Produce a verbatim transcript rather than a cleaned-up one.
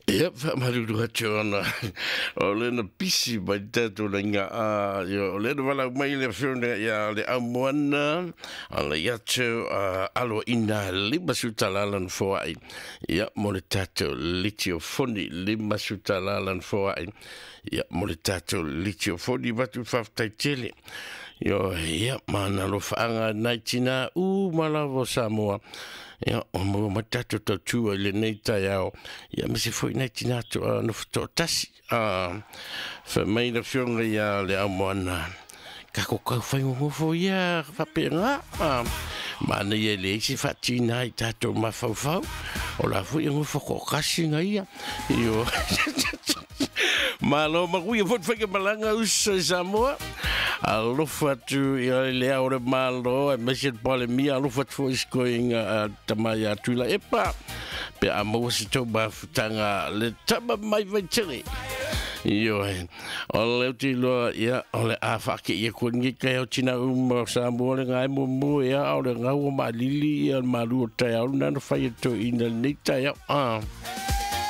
Ia, faamalulu atu ona o lena pisi mai tatou laiga a io o lena valaau mai le afioga ia le aumoana ala ia atu alo ina lima sutalala na foai ia mo le tatou litiofoni, lima sutalala na foai ia mo le tatou litiofoni vatu. Faafetai tele io ia mana alofaaga nai tinā uma lava o Samoa ia o maua mai tatou tautua i lenei taeao ia ma se foi nai tinā toa nofo toatasi a fai mai le afioga ia le aumoana kako kau faigogofo ia faapega a manaia e leai se faatinā i tatou mafaufau o la foi e gofo kookasi ga ia io malo makuia foi faiga malaga uso i Samoa. Alofa atu ia le ao le malo e mese le palemia, alofa atu foi sikoiga tama ia Tuila epa pe a maua se tou mafutaga le tama mai vaitele io e o le uti loa ia o le a whaake ia koe ngi kai o tina uma o Samoa le ngai mo mo ia o le ngau o malili ia le malu o tai au nana whai e to ina nei tai au. Ah.